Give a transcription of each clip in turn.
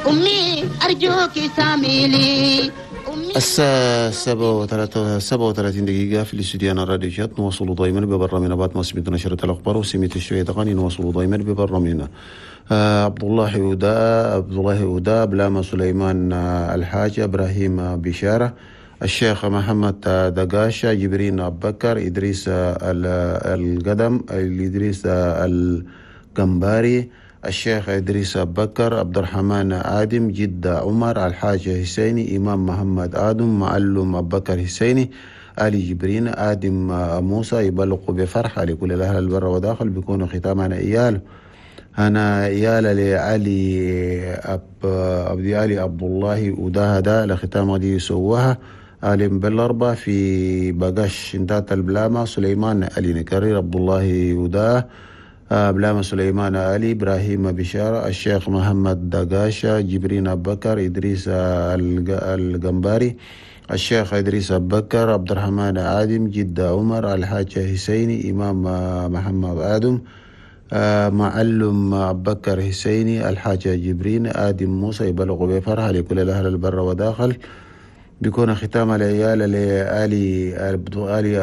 أمي أرجوك ساميلي. الساعة 37 دقيقة في الاستوديو الراديو شات. نواصل دائما ببرنامجنا بعد ما سمعت نشرة الأخبار وسمعت شوية أغاني. نواصل دائما ببرنامجنا. عبد الله ودا بلاما سليمان الحاج إبراهيم بشارة الشيخ محمد دقاشة جبرين أبو بكر إدريس القدم إدريس القنباري الشيخ إدريس أبو بكر عبد الرحمن آدم جدة عمر الحاج حسيني إمام محمد آدم معلم أبو بكر حسيني علي جبرين آدم موسى يبلغ بفرحة لكل الأهل البر وداخل. بيكون ختامنا إيال أنا إيال لعلي أبدي علي عبد الله وداهدا لختام دي سواها آلم بالأربع في بقاش انتات البلامة سليمان علي نكرر عبد الله وداه بلامة سليمان علي إبراهيم بشارة الشيخ محمد دقاشة جبرين أبو بكر إدريس القنباري الشيخ إدريس أبو بكر عبد الرحمن آدم جدة عمر الحاج حسيني إمام محمد آدم معلم أبو بكر حسيني الحاج جبرين آدم موسى يبلغ بفرحة لكل الأهل البر وداخل. بيكون ختام العيال لآلي آلي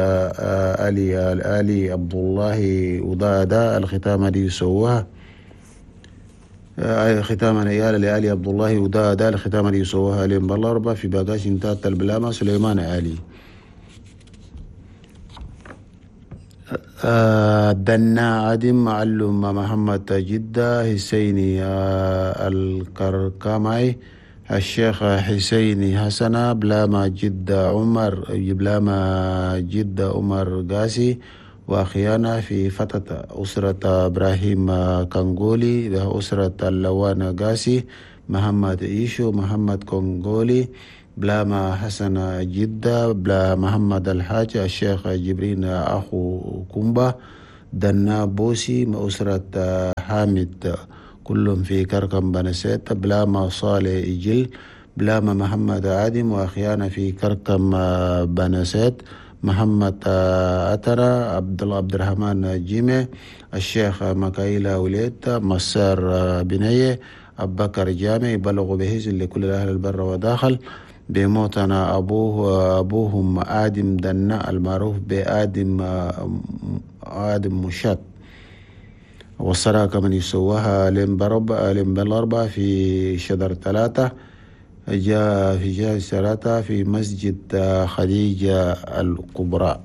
آلي آلي عبد الله وضادا الختام دي سواها ختام العيال لآلي عبد الله وضادا الختام دي سواها لين بالأربع في باقاش انتات البلامة سليمان آلي دنا آدم معلم محمد جدة حسيني الكركمي الشيخ حسيني حسنة بلاما جدة عمر بلاما جدة عمر قاسي وأخيانا في فتاة أسرة إبراهيم كونغولي أسرة اللوان قاسي محمد إيشو محمد كونغولي بلاما حسن جدة بلا محمد الحاج الشيخ جبرين أخو كومبا دنا بوسي أسرة حامد كلهم في كركم بنسيت بلاما صالح إجل بلاما محمد عادم وأخيانا في كركم بنسيت محمد أترى عبد الله عبد الرحمن جيمة الشيخ مكايلة وليت مسار بنية أبو بكر جامع يبلغ بهز لكل الأهل البر وداخل. بموتنا أبوهم آدم دنا المعروف بآدم آدم مشات والصراكة من يسواها لين بالأربعة في شجر 3 جاء في جهة 3 في مسجد خديجة الكبرى.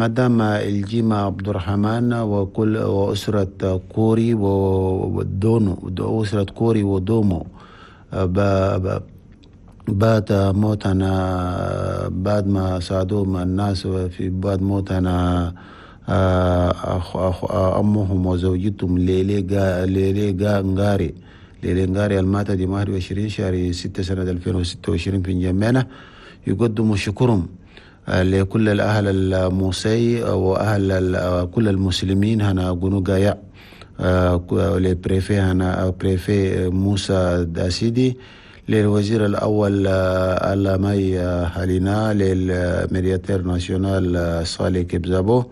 مدام الجيمة عبد الرحمن وكل وأسرة كوري ودونو أسرة كوري ودومو بات موتنا بعد ما ساعدوهم الناس في بعد موتنا أمهم وزوجتهم ليلي غاري ليلي غاري الماتة دي 21 شهر 6 سنة 2026 في جمعنا. يقدموا شكرهم لكل الأهل الموسي وأهل كل المسلمين هنا جنوغايا ل préfet هنا préfet موسى داسيدي للوزير الأول ألامي حالينا لل médiateur national صالح كبزابو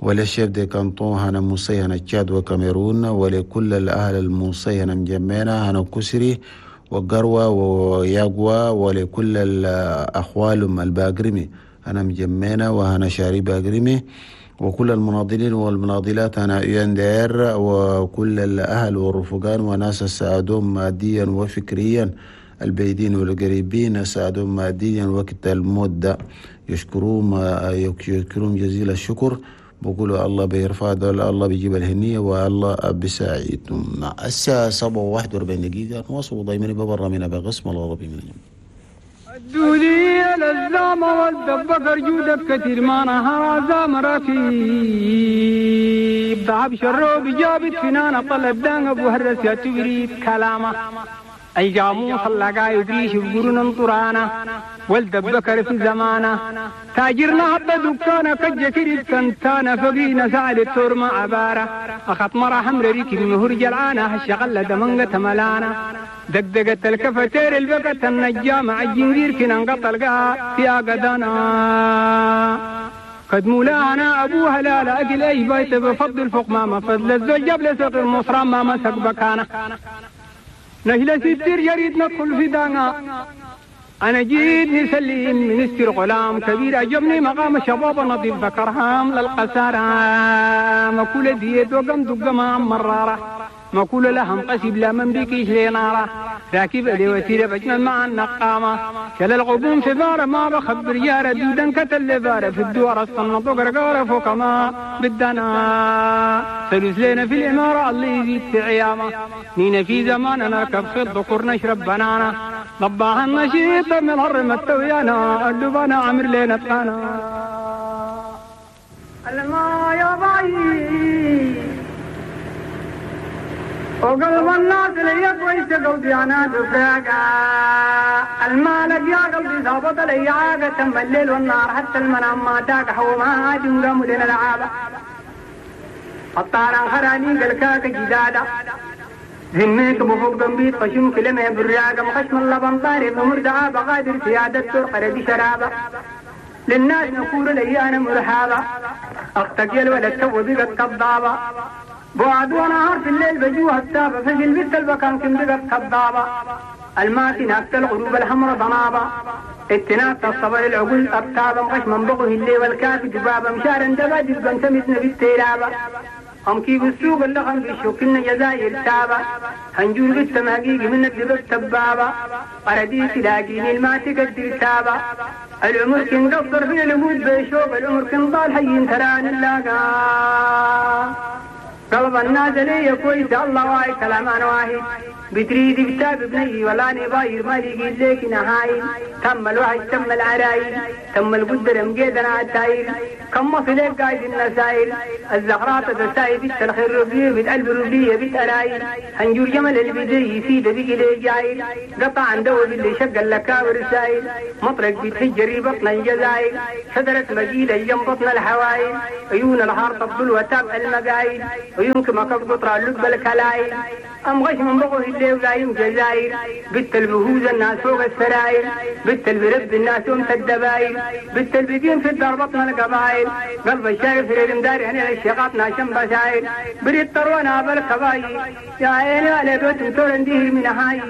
ولل chef de canton هنا موسي هنا تشاد وكاميرون ولكل الأهل الموسي هنا مجمعنا هنا كسري وقروة وياغوا ولكل الأخوال الباقرمي هنا مجمعنا وهنا شاري باقرمي وكل المناضلين والمناضلات هنا UNDR وكل الأهل والرفقان وناس ساعدوهم ماديا وفكريا البعيدين والقريبين ساعدوهم ماديا وقت المدة يشكرون جزيل الشكر. بقولوا الله بيرفع دول الله بيجيب الهنية والله بيساعدهم. الساعة 7:41 نواصل دايما ببرنامجنا بقسم الغربي من اليوم. الدولية للزامة والدبكر جودك كثير ما نهار زام ركيب ضعب شروب جابت فنانة طلب دان أبو هرس يا تبريد كلامه أي جاموس اللقا يبريش القرون طرانا والدبكر في زمانه تاجرنا عبد دكانة كجكري كنتانا فقينا سعد التورما عبارة أخط مرة حمر ريك المهور جلعانة الشغلة دمنقة ملانا دقدقة الكفتير البقة النجامة الجنجير كنا انقطع القاء في أقدانا كدمولانا أبوها لا لا أكل أي بيت بفضل فوق ما مفضل الزوج جاب لسوق المصرى ما مسك بكانه نهلا ستير يريد ندخل في دانا أنا جيت نسلم من استر غلام كبير أجبني مقام شباب نظيف ذكرهام للقسارة مكولة ديت وقم دقما مرارة مكولة لهم قسب لا من بكيش لنارة راكب لي وسيلة بجمل مع النقامة كل الغبون في بارة ما بخبر يارة دودا كتل بارة في الدوار الصنط وقرقارة فوق ما بدنا سلوس لنا في الإمارة الله يزيد في عيامة نينا في زمان نركب في الذكور نشرب بنانا ضباها النشيط من الهرم التويانا اللبانا عمر لنا تقانا الما يا بعيد وقلب الناس لي كويس قلبي انا دفاقة المالك يا قلبي ظابط لي عاقة تم الليل والنهار حتى المنام ما تاك حوما عادم قاموا لنا العابة الطاران خراني قلكاك جدادة ذميك بفوق قنبيت خشم كلمة براقة مخشم اللبن طاري بمردعة بغادر سيادة ترقر بشرابة للناس نقول لي انا مرحابة اختك يا الولد تو بقت كضابة بعد ونهار في الليل بجوها التابة فجل بنت البكان كم بقت كضابة الماتي ناكت الغروب الحمر ضنابة اتناك الصبر العقول أبتابة مغش من بغه الليل والكافي دبابة مشارا دبا دبا سمتنا بالتيرابة هم كي بالسوق اللخم بالشوكنا جزائر تابة هنجور بالتماقيق من الدبب تبابة قرديس لاقيني الماتي قدر تابة العمر كن قصر في الأمود بيشوب العمر كن ضال حي تران اللاقا قلب الناس لي كويس الله واي كلام انا واحد بتريد بتاب بني ولا نباير ما لقيت لك نهايل تم الوحش تم العرايل تم القدر مقيدنا عالتايل كم وصلك قايد النسايل الزغرات تسايل بنت الخير ربية بنت قلب ربية بنت أرايل هنجور جمل البدي يسيد بك لي جايل قطع عن دو باللي شق اللكاور السايل مطرق بتهجري بطن الجزايل شجرة مجيلة جنب بطن الحوايل عيون الحار تبدل وتاب المقايل عيونك ما قطرة اللب الكلايل أم غش من بغوه اللي ولايم جزاير بنت البهوز الناس فوق السراير بنت البرب الناس أم الدباير بنت البدين في الدار بطن القبايل قلب الشارف في المدار هنا الشقاط ناشم بشاير بريد طروانا بالكباير يا عيني على بيت تورنديه من هاي.